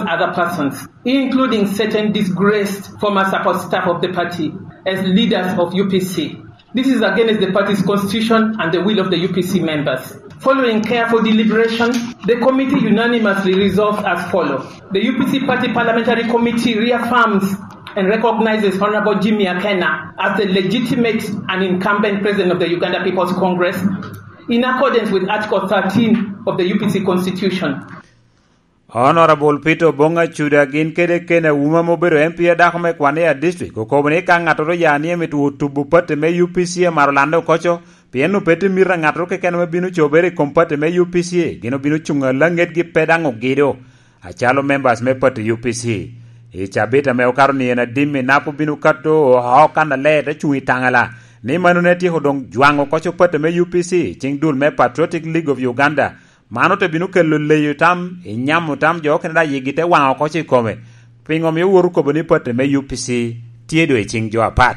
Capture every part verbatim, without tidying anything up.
other persons, including certain disgraced former support staff of the party as leaders of U P C. This is against the party's constitution and the will of the U P C members. Following careful deliberation, the committee unanimously resolved as follows. The U P C Party Parliamentary Committee reaffirms and recognizes Honorable Jimmy Akena as the legitimate and incumbent president of the Uganda People's Congress in accordance with Article thirteen of the U P C Constitution. Honorable Peter Obong Acuda gin kede Ken Auma ma obedo M P a dako me Kwania District okobo ni ka ŋattoro ya ni emito tubo pati me U P C amaro lande okoco, pien pe tye mito a ŋattoro keken ame bino cobere i kom pati me U P C, gin obino cuŋ alaŋetgi pe daŋ ogido. Acalo members me pati U P C, i cabit ame okato ni en adim i nap obino kato oko kan aler te cuŋ i taŋala, ni mano ne tyeko doŋ jwaŋo okoco pati me U P C, ciŋ dul me Patriotic League of Uganda, man ote bino kelo leyo tam, i nyamo tam jo okene daŋ yigi te waŋ oko i kome. Piŋo mio wot okobo ni pati me U P C tye doŋ i ciŋ jo apat?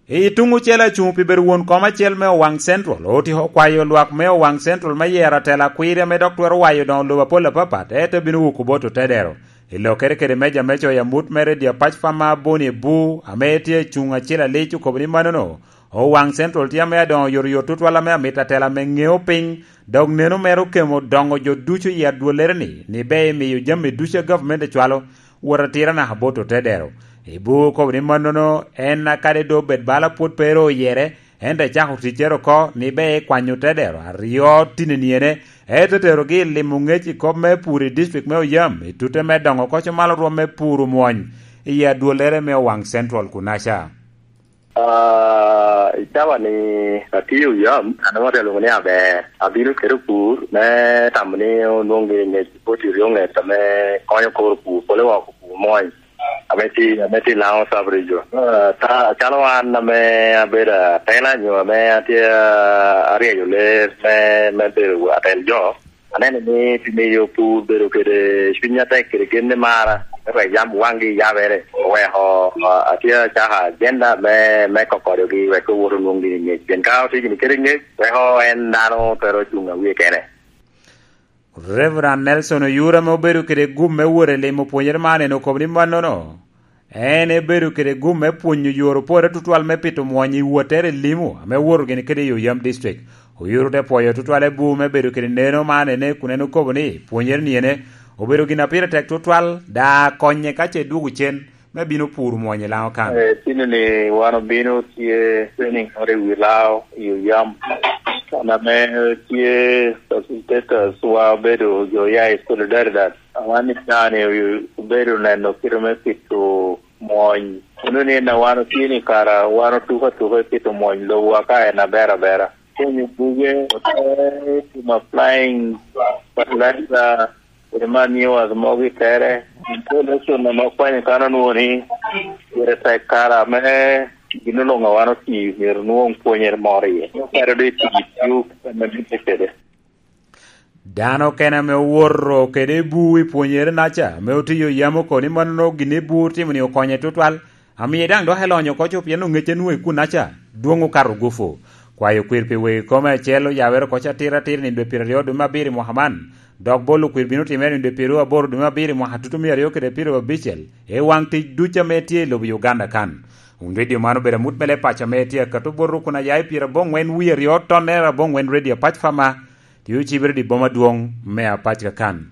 I tuŋ ocele acuŋ pi bedo won kom acel me Owaŋ Central, otyeko kwayo lwak me Owaŋ Central me yero atela akwiri ame dok twero wayo doŋo lobo apol apapat, ento bino wuko bot otedero. I lokere kede meja me coyo amut me redio apac Fama Boni Ebu, ame tye acuŋ acel alic, okobo ni manono, Owaŋ Central tye ame adoŋo oyotoyot tutwal ame amito atela ame ŋeo piny, dok neno mere okemo doŋo jo ducu i adwollere-ni, ni ber imiyo jami ducu a gavumenti cwalo wot atira naka bot otedero. Ebu okobo ni mannono en akadi doŋ obed bala pwod pe ru oyere, ento ecako ticcere oko ni ber ekwanyo otedero aryo tininiene, ento terogi i limo ŋec i kop me pur i district me Oyam, i tute me doŋo okoco malo rwom me pur omwony i adwollere me Owaŋ Central kunaca. Ah, i cawa ni atye Oyam, an ŋot alwoŋo ni Aber. Abino kede opur me tamo ni onwoŋ giri ŋec, bot i ryo ŋec ame konyo kor opur, pole wa opur mony, ame tye, ame tye i Laŋo Sub Region. Ah, ta-, calo an ame abedo atela nyo ame atye, ah, aryeyo ler me, me bedo atel jo, aneno ni pi miyo pur bedo kede cuny atek kede gen me mara, me wek yam waŋgi yabere, oweko, ah, atye acako ajenda me, me kokodogi wek owot onwoŋ gini ŋec. Pien ka otye gini kede ŋec, weko en dano twero cuŋ awie kene. Reverend Nelson Oyura ame obedo kede gum me wot i limo pwonyere man en okobo ni mannono, en ebedo kede gum me pwonyo yore opore tutwal me pito mwony i wottere i limo ame owoto gini kede i Oyam District. Oyura te pwoyo tutwal Ebu me bedo kede neno man ene kun en okobo ni pwonyere ni ene obedo gin a pire tek tutwal, da konye ka ce dwogo cen me bino puro mwony i Laŋo kan. Eh, tino ni wan obino tye training moro i wi Laŋo i Oyam. Kan ame tye facilitators wa obedo jo ya i Solidaridad. Wan i cani obedo neno kite me pito mwony. Kono ni en a wan otye ni kara wan otuko atuka i pito mwony lobo wa ka en aber abera. Konyo buge, ote timo applying fertilizer, kede manure mogo i tere. Introduction ame okwanyo kan onwoŋo ni pire tek kara ame gin oloŋo a wan oti myero nwoŋ pwonyere moro iye. Okero doŋ i tic tio ame mitte kede. Dano okene ame owoto kede Ebu i pwonyere naca, ame otiyo yam oko ni mannono gin Ebu otimo-ni okonye tutwal, amiye daŋ dok elonyo oko co pien oŋecce nwoŋo i kun naca dwoŋ okato gufu. Kwayo kwir pi wegi kome acel oyabere oko atira atir nino dwe pyeraryo dwe me abiro i mwaka man, dok bolo kwir bino timere nino dwe pyeraryo aboro dwe me abiro i mwaka tutumia aryo kede pyeraryo abicel, i waŋ tic ducu ame tye i lobo Uganda kan. Wun redio man obedo amut me leb paco ame tye akato bot rukun aya i pyeraboŋwen wie aryo tonnere aboŋwen redio apac Fama, tye ocibere i boma adwoŋ me apac kakan.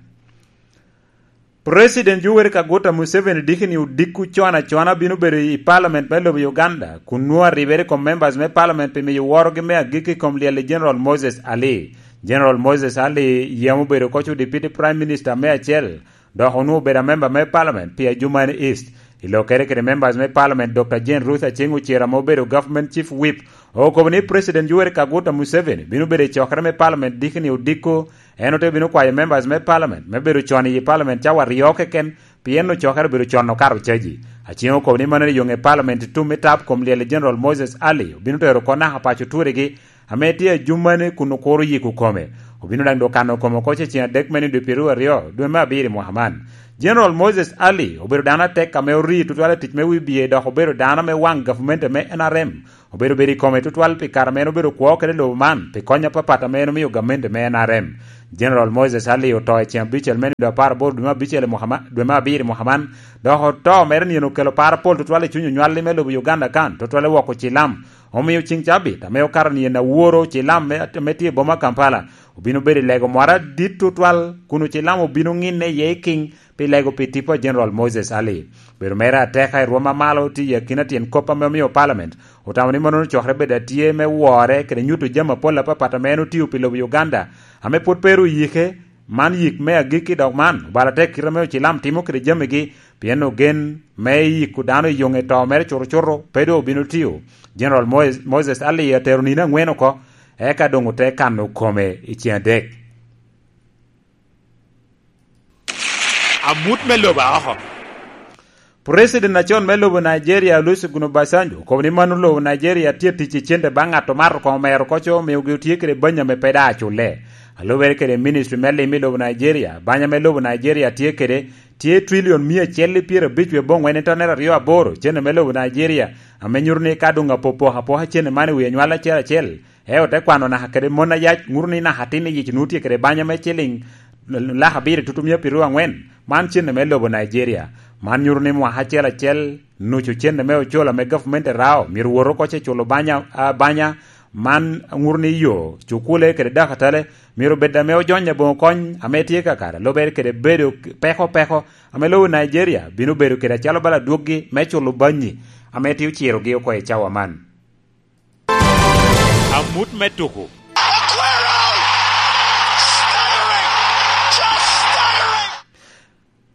President Yoweri Kaguta Museveni diki ni odiko con acona bino bedo i Parliament me lobo Uganda, kun nwoŋo aribere i kom members me Parliament pi miyo worogi me agikki i kom lyel i General Moses Ali. General Moses Ali yam obedo koc Deputy Prime Minister me acel, dok onwoŋo obedo amemba me Parliament pi Adjumani East. I lokere kede members me Parliament, Doctor Jane Ruth Aceng Ocero ame obedo Government Chief Whip, okobo ni President Yoweri Kaguta Museveni bino bedo i cokere me Parliament diki ni odiko, en ote bino kwayo members me Parliament me bedo con i Parliament cawa aryo keken, pien ocokere obedo con okato caji. Aceng okobo ni mano ni yoŋe Parliament i tum me tap kom lyel i General Moses Ali obino tero oko naka paco turigi, ame tye Adjumani kun okuro yiko kome. Obino daŋ dok kano kome oko ce ceŋ adek me nino dwe pyeraryo aryo dwe me abiro i mwaka man. General Moses Ali obedo dano atek ame ori tutwal i tic me wibie, dok obedo dano ame waŋ gavumenti me N R M obedo bedo i kome tutwal pi kare ame en obedo kwo kede lobo man pi kony apapat ame en omio gavumenti me N R M. General Moses Ali oto i ceŋ abicel me nino apar aboro dwe me abicel i mwaka ma-, dwe me abiro i mwaka man, dok oto mere nino okelo par apol tutwal i cuny onywalli me lobo Uganda kan, tutwale woko cilam. Omio ceŋ cabit ame okato nino aworo cilam me, me tye i boma Kampala, obino bedo i lego mwara adit tutwal, kun ocilam obino ŋinne iye i kiŋ pi lego pi tipo a General Moses Ali. Bedo mere ateka i rwom amalo tye i akina tyen kop ame omio Parliament otamo ni mano cokere bedo atye me wore kede nyuto jami apol apapat ame en otio pi lobo Uganda, ame pwod pe ru yike. Man yik me agikki, dok man obalo atek kite ame ocilam timo kede jamigi, pien ogen me yiko dano i yoŋe to mere cuto cuto pe doŋ obino tio. General Moes-, Moses Ali atero nino aŋwen oko, eka doŋ ote kano kome i ceŋ adek. Amut me lobo aoko. President acon me lobo Nigeria, Olusegun Obasanjo, okobo ni mano lobo Nigeria tye tic i cente baŋ ŋat omato koŋ omero koco, omiogi otye kede banya ame pe daŋ aculle. A lubere kede ministry me lim i lobo Nigeria, banya me lobo Nigeria tye kede tye trilion mia acel i pyerabic wie boŋwen i tonere aryo aboro cente me lobo Nigeria, ame nyuto ni ka doŋ apopoko apoka cente man i wi anywal acel acel, e ote kwano naka kede mon ayac, ŋuto ni naka atin i yic nwoŋo tye kede banya me ciliŋ lak abiro tutumia piryo aŋwen. Man cente me lobo Nigeria. Man nyuto ni mwaka acel acel nucu cente me ocol ame gavumenti rao myero wot oko ce culo banya, a, banya. Man ŋuto ni yo, cukule kede dakatale myero bed ame ojonyo aboŋo kony ame tye kakare, lubere kede bedo peko peko ame lobo Nigeria bino bedo kede acalo bala dwoggi me culo banyi ame tye ocirogi oko i cawa man. Amut me tuko.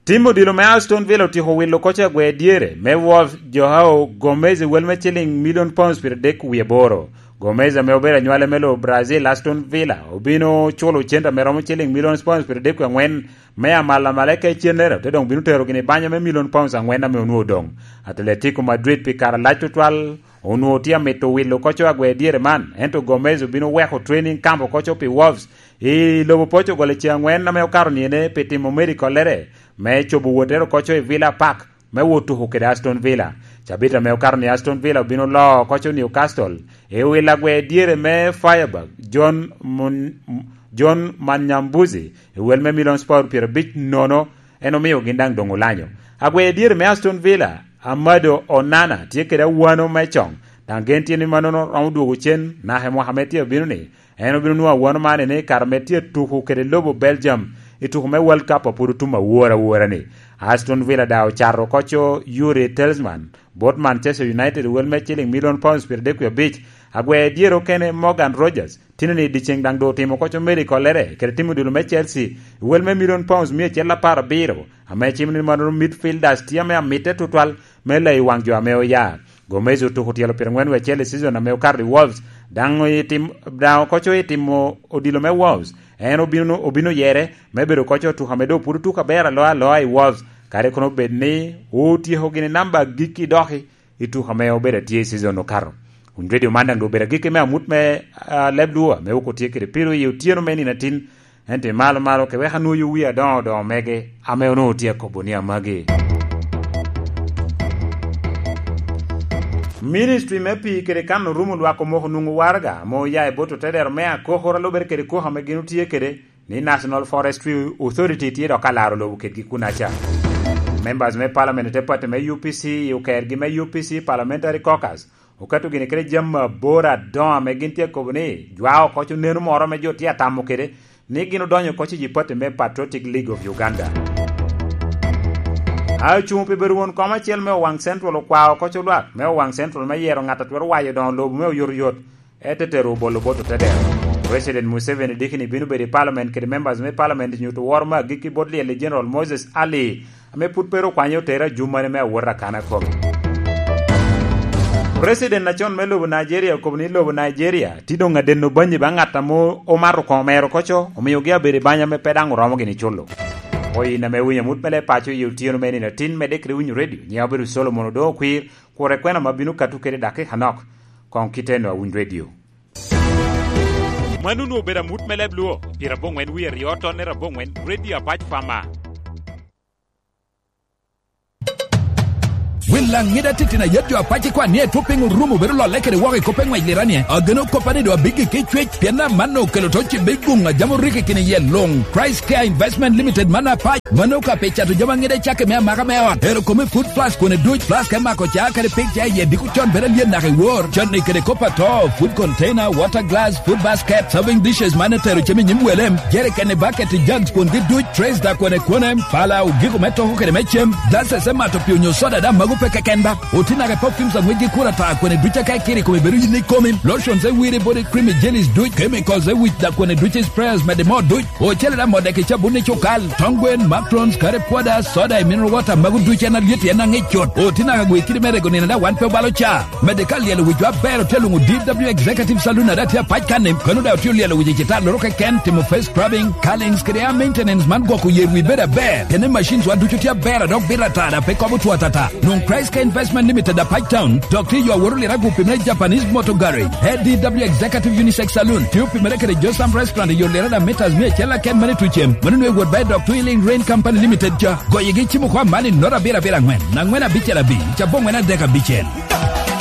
Tim odilo me Aston Villa otyeko wilo koca agwe dyere me Wolves, Joao Gomez, i wel me ciling milion pounds pyeradek wie aboro. Gomez, ame obedo anywale me lobo Brazil, Aston Villa obino culo cente ame romo ciling milion pounds pyeradek wie aŋwen me amalamaleka i cennere, te doŋ bino tero gini banya me milion pounds aŋwen ame onwoŋo odoŋ. Atletico Madrid pi kare lac tutwal onwoŋo tye amito wilo koco agwe dyere man, ento Gomez obino weko training camp okoco pi Wolves i lobo Portugal i ceŋ aŋwen ame okato niyene pi timo medikollere me cobo wottere okoco i Villa Park me wot tuko kede Aston Villa. Cabit ame okato ni Aston Villa obino loo okoco Newcastle i wil agwe dyere me Freiburg, John Mun-, John Manyambuzi, i wel me milion pound pyerabic nono, en omio gin daŋ doŋ olanyo. Agwe dyere me Aston Villa, Amado Onana, tye kede awano me coŋ, daŋ gen tye ni mannono romo dwogo cen naka i mwaka me tye abino ni. En obino nwoŋo awano man ni kare me tye tuko kede lobo Belgium i tuko me World Cup a pwod otum awora awora ni. Aston Villa daŋ ocato okoco Yuri Telsman bot Manchester United i wel me ciling milion pounds pyeradek wie abic. Agwe dyere okene Morgan Rogers tino ni dyeceŋ daŋ doŋ otimo koco meri kollere kede timo dilo me Chelsea i wel me milion pounds mia acel apar abiro, ame cimo ni mannono midfielders tye ame amitte tutwal me leyi waŋ jo ame oya. Gomez otuko tyelo pyerangwen wie acel i season ame okato i Wolves, daŋ otim-, daŋ okoco i timo odilo me Wolves. En obino, obino yere me bedo koco otuko ame doŋ pwod otuko aber aloa aloa i Wolves, kadi kono bed ni otyeko gini namba agikki doki i tuko ame obedo atye i season okato. Wun redio man daŋ doŋ obedo agikki me amut me, ah, leb Luo ame wok otye kede piro i otyeno me nino atin. Ento malo malo ke wek anwoyo wi adoŋo odoŋo mege ame onwoŋo tye akobo ni amagi. Ministry me pii kede kano rum olwak omoko nwoŋo waraga ame oya i bot otedero me akokoro a lubere kede koko ame gin otye kede ni National Forestry Authority tye dok alaro lobo kedgi kunaca. Members me Parliament te party me U P C i okergi me U P C Parliamentary Caucus okato gini kede jami aboro adoŋo ame gin tye akobo ni jwa oko co neno moro ame jo tye atamo kede ni gin odonyo oko i party me Patriotic League of Uganda. Acuŋ pi bedo won kom acel me Owaŋ Central okwao oko co lwak me Owaŋ Central me yero ŋat a twero wayo doŋo lobo me oyotoyot, ete tero obolo bot otedero. President Museveni dikini bino bedo i parliament kede members me parliament nyuto woro me agikki bot lyel i General Moses Ali, ame pud pe ru okwanye otere ajumane me awot akana kome. President acon me lobo Nigeria okobo ni lobo Nigeria tye doŋ adeno banyi ba ŋat ame omato koŋ omero koco, omiogi abedo i banya ame pe daŋ oromo gini culo. Oyin ame winyo amut me leb paco i otyeno me nino atin, medde kede winyo redio, nyiŋa obedo Solomon Odoŋo Okwir, kure kwena ma bino kato kede dakika nok, koŋ kiteno awiny redio. Mano onwoŋo obedo amut me leb Luo, pyeraboŋwen wie aryo tonne raboŋwen, Radio Apac Pama. Wi laŋ ŋida titino a yet jo apac ikwan ni etwo piny orumo bedo lolle kede woko i kop eŋwec liranie. Ageno kop a ni doŋ abiggi ki cwec, pien amanno okelo to cibe i guŋ a jam oriko i kin yel luŋ. Christ Care Investment Limited man apac. Mano ka pi cato jami aŋida i cakke me amaka me ot. Ero kome food plus kwene duc, plus ka imako ca kadi pig ca iye diko con bedo alyet naka i wor. Canni kede kop ato, food container, water glass, food basket, serving dishes man etero cem i nyim welem, jerikeni, baketi, jugs kwongi duc, trays da kwene kwene, pala, ogiko me toko kede me cem, glasses me mato pii onyo soda da mago pe keken ba. Oti naka i perfumes aŋwec gi kura ta kwene duc aka ikiri kome bedo yin ikomi, lotions e wiri body cream i jellies duc, chemicals e wic da kwene duc i sprayers mede mo duc. Ocele da mode ki cabun i cukal, tong gwen, macrons, kare pwoda, soda i mineral water, mago ducu en alyet en aŋic cut. Oti naka gwe kidi me rego nino da wan pe obalo ca. Mede ka lyelo wic wa ber otye luŋo D W Executive Saloon ada tye apac kan-ni, kono da otye lyelo wic i cita loro keken, timo face scrubbing, curlings, kede a maintenance man gwoko yer wi bedo aber. Kene machines wa ducu tye aber a dok bito ata da pe kobo two atata. Nwoŋ Christ Care Investment Limited apac town, dok tye yo aworo lira gupi me Japanese Motor Garage. A D W Executive Unisex Saloon, tye opimere kede Josam Restaurant i yo lira da metas mia acel aken mane tucem. Mano nwe wot ba i dok Twilling Rain Company Limited ca. Goyigi cimo kwa man i nota abiro abiro aŋwen, aŋwen abicel abic, cabo ŋwen adek abicel.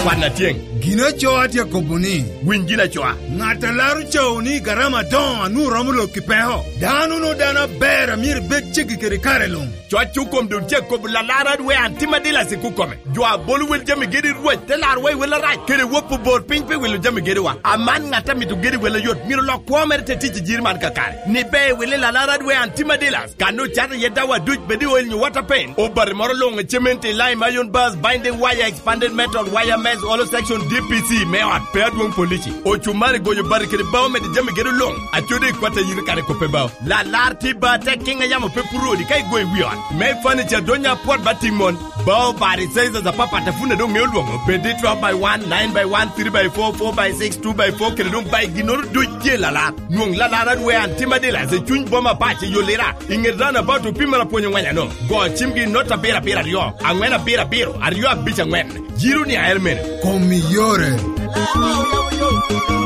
Kwan atyeŋ. Gin aco atye kobo ni, winy gin acoa. Ŋat a laro cawo ni garama adoŋo a nwoŋo romo lok i peko. Dano no dano aber a myero ibed ceggi kede kare luŋ. Cwaccu kom doŋ tye kobo lalar adwe an tim adila sik okome. Jo a bolo wel jami gedi Rwec te laro wa i wel arac, kede wop obor piny pi wilo jami gediwa. Aman ŋat a mito gedi wel ayot myero lok kwo mere te tic i jiri man kakare. Ni be i wili lalar adwe an tim adila. Kan ocato iye dawa duc bed i oil nyo water paint. Obati moro luŋ i cement i lime iron bars, binding wire, expanded metal, wire mesh, hollow section, D P C me ot pe adwoŋ polici. Ocumari gonyo bati kede bao mede jami gedo luŋ. Acodi i kwat ayiri kare kope bao. Lalar tye ba tek kiŋ a yamo pe puro odi ka igo i wi ot. Me furniture donya apwot ba tiŋ mon. Bao bati sizes apapat a pun a doŋ ŋeo lwoŋo. Bed i twelve by one, nine by one, three by four, four by six, two by four, kede doŋ by ginnoro duc tye lalar. Nwoŋ lalar adwe an tim adila i cuny boma pac i Yolira. I ŋet roundabout opimere apwony oŋweny ano. Go cimgi i nota abiro abiro aryo, aŋwen abiro abiro, aryo abic aŋwen. Jiro ni aer mene. Kom i yore.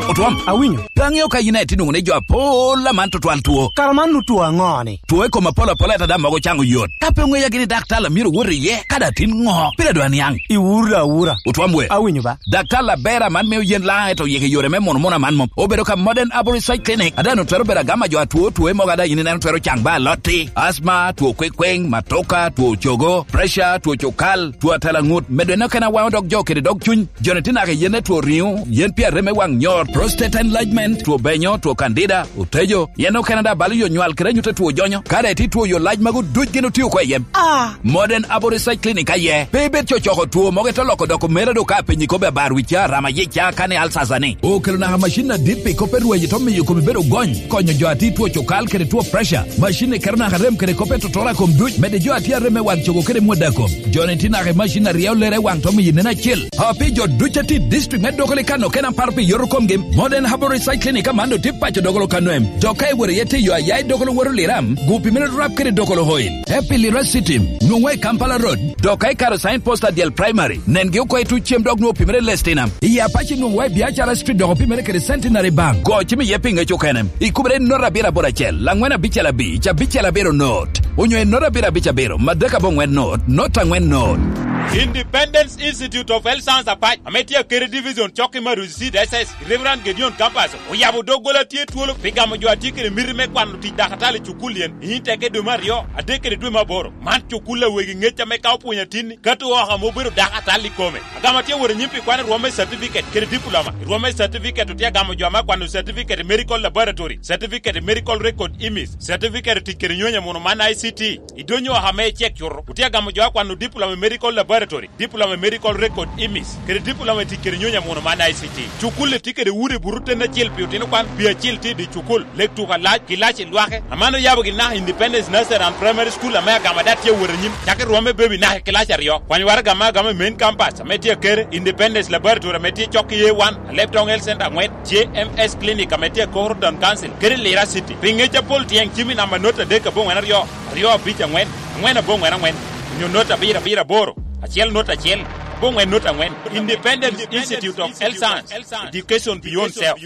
Otwom. Awinyo. Pe aŋeo ka yin aye tye nwoŋo ni jo apol aman tutwal two. Kara man otwo aŋo ni? Two i kom apol apol ata da mogo caŋo yot. Ka pe oŋeya gini daktar a myero wot iye, ka da tin ŋo? Pire dwa niaŋ. Iwuro da awura. Otwom we. Awinyo ba. Daktar aber aman mio yen laŋ eto yik i yore me mono mono aman mom. Obedo ka Modern Arborist Side Clinic, a dano twero bedo agama jo atwo twoe mogo ada yin ineno twero caŋ ba alotti, asma, two kwekweŋ, matoka, two cogo, pressure, two cukal, two atalaŋut, medo eno kena waŋo dog jo kede dog cuny, joni tye naka yen etwo riŋo, yen pi areme waŋ nyot, prostate enlargement, two benyo, two candida, otejo, yen okene da balo yo nywal kede anyut etwo jonyo, kare ti two yo lac mago duc gin otio ko i yem. Ah! Modern Arborist Side Clinic aye, pe ibed cocoko two mogo ito loko doko mera do ka penyi kobe abar wica, rama yica, kane alsasa ni. Okelo naka macin adit pi kop erweny ito miyo komi bedo gony, konyo jo ati two cukal kede two pressure. Macin ni keto naka rem kede kop etotora kom duc, mede jo ati arem me wang cogo kede mwada kom. Joni ti naka i macin aryo lere wang to miyo nen acil. Api jo duc ati district me doko li kano kena paro pi yoto komgi. Modern Herbal Recycling i Kamando tye paco dogolo kano em. Dok ka iworo iye tiyo aya i dogolo woro liram, gupi mere rap kede dogolo oil. Happy Lira City, nwoŋwa i Kampala Road. Dok ka ikaro sign post adyel primary, nengi oko i tuc cem dok nwoŋo opimere lestinam. I Apache nwoŋwa i Biacara Street dok opimere kede Centenary Bank. Go cim iye pi ŋec okene. Ikubere i nota abiro aboro acel, laŋwen abicel abic, abicel abiro not. Onyo i nota abiro abic abiro, madek aboŋwen not, not aŋwen not. Independence Institute of Health Science Apac, ame tye akeri division cok i Maruzi C D S S, Reverend Gedeon Campus, oyabo doggola tye twolo pi gamo jo a tye kede miti me kwano tic dakatali i cukul yen, i nyim teke dwe me aryo, adek kede dwe me aboro. Man cukul a wegi ŋec ame ka opwonyo atinni, kato oko ame obedo dakatali i kome. Agamo tye wot anyim pi kwano rwom me certificate kede diploma. I rwom me certificate otye agamo jo ame akwano certificate i medical laboratory, certificate i medical record imis, certificate i tic kede nyonyo muno man I C T. I dwe nyo ame icek cuto, otye agamo jo akwano diploma i medical laboratory, diploma i medical record imis, kede diploma i tic kede nyonyo muno man I C T. Cukul-li tye kede udi buto ten acel pi otino kwan, pi acil tye i dye cukul, lek tuko alac, kilaci lwake. Aman oyabo gin naka Independence Nursery and Primary School ame agamo ada tye awot anyim, cako i rwom me baby naka i kilaci aryo. Kwany waraga me agamo i main campus ame tye akere, Independence Laboratory ame tye cok i A one, Alebtong Health Center aŋwen, J M S Clinic ame tye akoro Town Council, kede Lira City. Pi ŋec apol tyeŋ cim i namba not adek aboŋwen aryo, aryo abic aŋwen, aŋwen aboŋwen aŋwen, onyo not abiro abiro aboro, acel not acel, aboŋwen not aŋwen. Independence Institute of Health Science, Education Beyond Self.